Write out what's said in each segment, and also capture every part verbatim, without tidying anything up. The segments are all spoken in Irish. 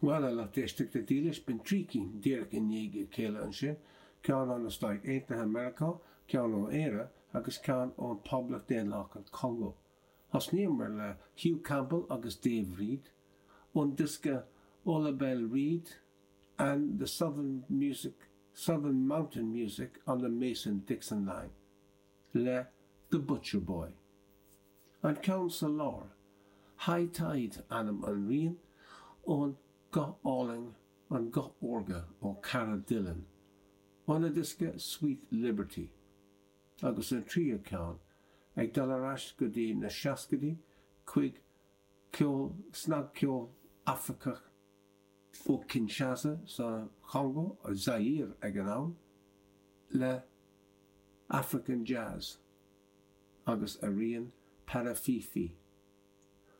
Bhuel, a lucht éisteachta dílis, b'in trí cinn díreach i ndiaidh a chéile ansin, ceann ó na Stáit Aontaithe Meiriceá, ceann ó Éire agus ceann ón Poblacht Daonlathach an Chongó. Thosnaíomar le Hugh Campbell agus Dave Reid ón diosca Ola Belle Reed and the Southern Music Southern Mountain Music on the Mason-Dixon Line le The Butcher Boy. An ceann sa lár, High Tide ainm an rian ón guth álainn an guth órga ó Cara Dillon, óna diosca Sweet Liberty, agus an tríú ceann ag dul ar ais go dtí na seascaidí chuig ceol snagcheol Afracach ó Kinshasa sa Chongó Zaire ag an am le African Jazz agus a rian Parafifi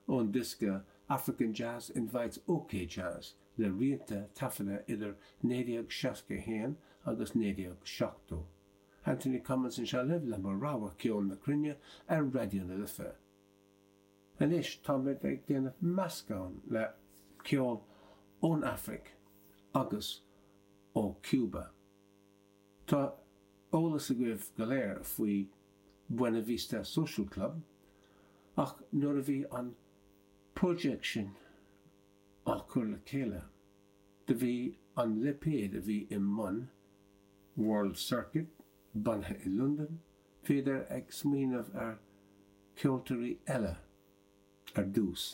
ón diosca African Jazz Invites OK Jazz le rianta taifeadta idir naoi déag seasca a haon agus naoi déag seachtó. Anthony Cummins anseo libh le mo rogha ceol na cruinne ar Raidió na Life. Anois táimid ag déanamh meascán le ceol ón Afraic agus ó Cuba. Tá eolas agaibh go léir faoi Buena Vista Social Club, ach nuair a bhí an project sin á chur le chéile, do bhí an lipéad a bhí i mbun World Circuit bunaithe i Londain, bhíodar ag smaoineamh ar cheoltóirí eile ar dtús,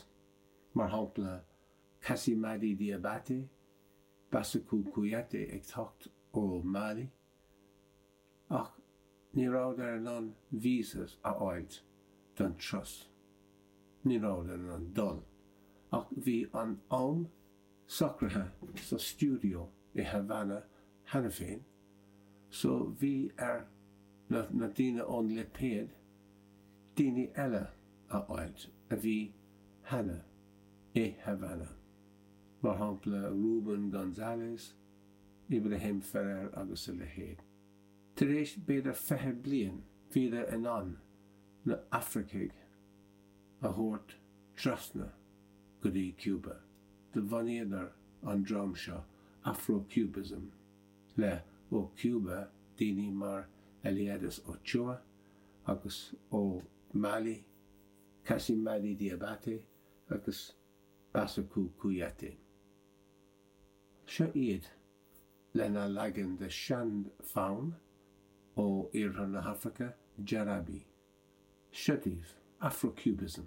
mar shampla Kassimadi Diabaté, Bassekou Kouyaté ag teacht ó Mali, ach ní rabhadar in ann visas a fháilt don turas. Ní rabhadar in ann dul, ach bhí an am socraithe sa stiúideo i Havana cheana féin, so bhí ar na, na daoine ón lipéad daoine eile a fháilt a bhí cheana i Havana. Mar shampla Ruben Gonzalez, Ibrahim Ferrer agus a leithéid. Tar éis b'fhéidir fiche bliain bhíodar in ann na Afracaigh a thabhairt trasna go dtí Cuba. Do bhunaíodar an dream seo Afro-Cubism le ó Cuba daoine mar Eliades Ochoa agus ó Mali, Kassimadi Diabaté agus Bassekou Kouyaté. Seo iad lena leagan de sean-fhonn ó iarthar na hAfraice Jarabi. Seo daoibh Afro-Cubism.